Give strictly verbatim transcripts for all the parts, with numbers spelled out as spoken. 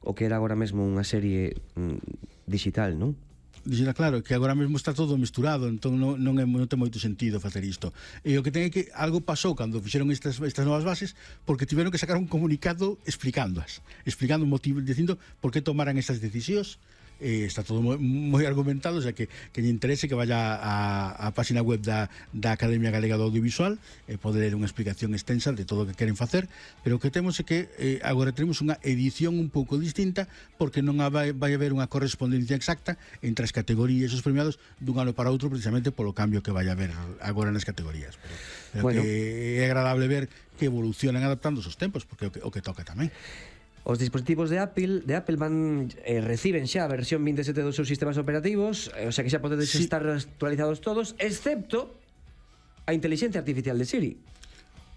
o que era agora mesmo unha serie mm, digital, non? Dixera, claro, que agora mesmo está todo misturado, entón non, non, é, non ten moito sentido facer isto. E o que ten é que algo pasou cando fixeron estas, estas novas bases, porque tiveron que sacar un comunicado explicándoas, explicando o motivo, dicindo por que tomaran estas decisións. Eh, está todo moi, moi argumentado, o sea que que lle interese que vaya a, a página web da, da Academia Galega do Audiovisual e eh, poder ler unha explicación extensa de todo o que queren facer, pero o que temos é que eh, agora temos unha edición un pouco distinta, porque non vai, vai haber unha correspondencia exacta entre as categorías e os premiados dun ano para outro, precisamente polo cambio que vai haber agora nas categorías, pero, pero bueno, que é agradable ver que evolucionan adaptando os tempos, porque é o que, o que toca tamén. Os dispositivos de Apple de Apple van eh, reciben xa a versión veintisiete dos seus sistemas operativos, eh, o sea que xa podedes sí. estar actualizados todos, excepto a inteligencia artificial de Siri.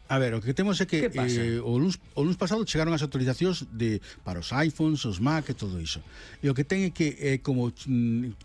A ver, o que temos é que eh, o, luns, o luns pasado chegaron as actualizacións de, para os iPhones, os Mac e todo iso. E o que ten é que eh, como,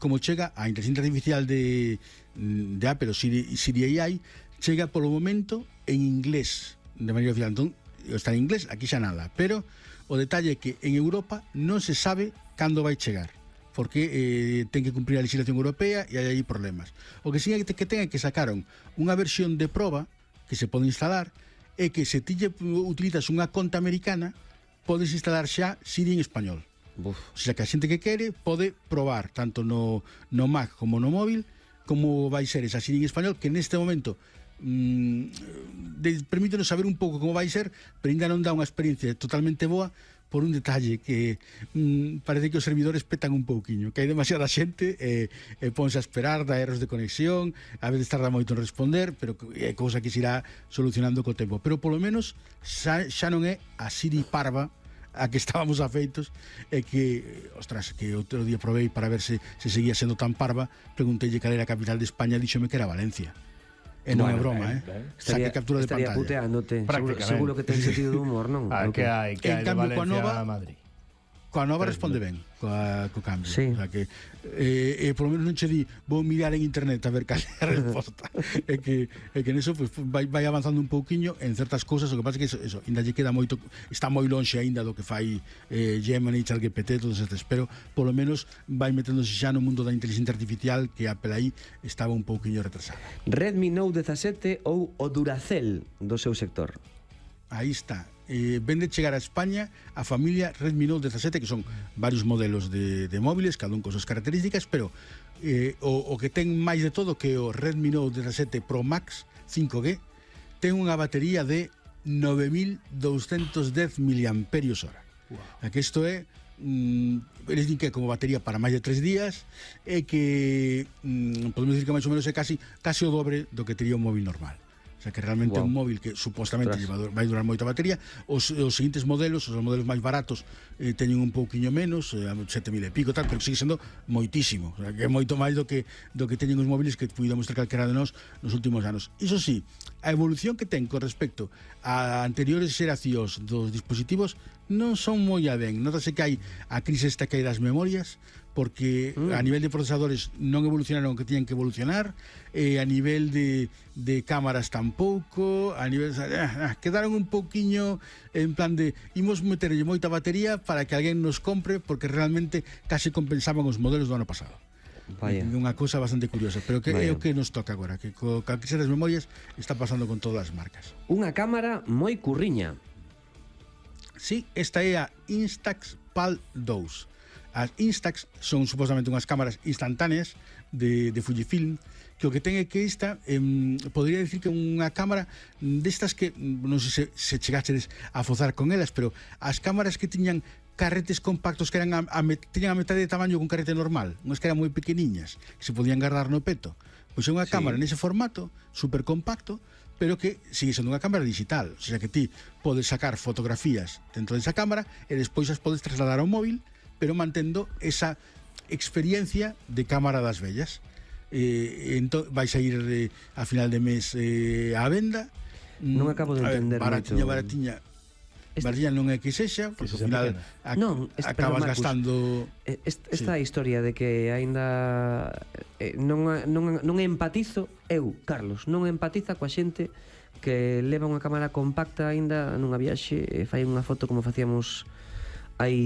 como chega a inteligencia artificial de, de Apple, o Siri, Siri A I, chega polo momento en inglés de maneira oficial. Entón, está en inglés, aquí xa nada, pero o detalle é que en Europa non se sabe cando vai chegar, porque eh, ten que cumprir a legislación europea e hai aí problemas. O que sí é que ten é que sacaron unha versión de proba que se pode instalar, é que se ti utilizas unha conta americana podes instalar xa Siri en español. Uf. O sea que a xente que quere pode probar tanto no, no Mac como no móvil como vai ser esa Siri en español, que neste momento Mm, permítenos saber un pouco como vai ser, pero ainda non dá unha experiencia totalmente boa por un detalle que mm, parece que os servidores petan un pouquiño, que hai demasiada xente e, e ponse a esperar, da erros de conexión, a veces tarda moito en responder, pero é cousa que se irá solucionando co tempo, pero polo menos xa, xa non é a Siri parva a que estábamos afeitos, e que, ostras, que outro día provei para ver se, se seguía sendo tan parva, pregunteille cal era a capital de España, díxome que era Valencia. E non é bueno, broma, ben, eh? ben. Saque Estaría, captura de estaría pantalla. Estaría puteándote. Seguro, seguro que ten sentido de humor, non? Ah, que hai, que hai de Valencia a Madrid. Coa nova responde ben coa, co cambio, sí. O sea que eh, eh, por lo menos non che di vou mirar en internet a ver cal é a resposta. É que é que neso pues, vai, vai avanzando un pouquiño en certas cousas, o que pasa é que eso, eso ainda lle queda moito, está moi lonxe aínda do que fai eh, Gemini, ChatGPT, todos estes, pero polo menos vai meténdose xa no mundo da inteligencia artificial, que Apple aí estaba un pouquiño retrasada. Redmi Note dezasete ou o Duracell do seu sector. Aí está. Eh, vende chegar a España a familia Redmi Note dezasete, que son varios modelos de, de móviles, cada un con súas características, pero eh, o, o que ten máis de todo que o Redmi Note dezasete Pro Max cinco G ten unha batería de nove mil douscentos dez miliamperios hora. Wow. Que isto é mm, eles din que é como batería para máis de tres días, e que mm, podemos dicir que máis ou menos é casi, casi o dobre do que tería un móvil normal. O sea que realmente é wow. un móvil que supostamente vai durar moita batería. Os, os seguintes modelos, os modelos máis baratos eh, teñen un pouquiño menos, eh, sete mil e pico tal, pero sigue sendo moitísimo, o sea, que é moito máis do que do que teñen os móviles que puidamos ter calquera de nós nos últimos anos. Iso sí, a evolución que ten con respecto a anteriores xeracións dos dispositivos non son moi a ben. Notase que hai a crise esta que hai das memorias, porque mm. a nivel de procesadores non evolucionaron o que tiñan que evolucionar, e a nivel de, de cámaras tampouco, a nivel ah, quedaron un pouquiño en plan de imos meterlle moita batería para que alguén nos compre, porque realmente case compensaban os modelos do ano pasado. Vaya. Unha cousa bastante curiosa, pero que Vaya. é o que nos toca agora, que co a crise das memorias está pasando con todas as marcas. Unha cámara moi curriña. Sí, esta é a Instax PAL dous. As Instax son supostamente unhas cámaras instantáneas de, de Fujifilm, que o que ten é que esta eh, podría decir que unha cámara destas que non sei se, se chegaches a fozar con elas, pero as cámaras que tiñan carretes compactos que eran a, a, tiñan a metade de tamaño que un carrete normal, unhas que eran moi pequeniñas, que se podían guardar no peto, pois é unha sí. cámara nese formato, super compacto, pero que sigue sendo unha cámara digital, o sea que ti podes sacar fotografías dentro desa cámara e despois as podes trasladar ao móvil, pero mantendo esa experiencia de cámara das vellas. Eh, entón, vais a ir eh, a final de mes eh, á venda. Non acabo de entender ver, baratiña, moito. baratiña, este... baratiña non é que sexa, porque ao final ac non, este, acabas perdón, gastando... Esta, esta sí. historia de que aínda eh, non, non, non empatizo, eu, Carlos, non empatiza coa xente que leva unha cámara compacta aínda nunha viaxe e fai unha foto como facíamos hai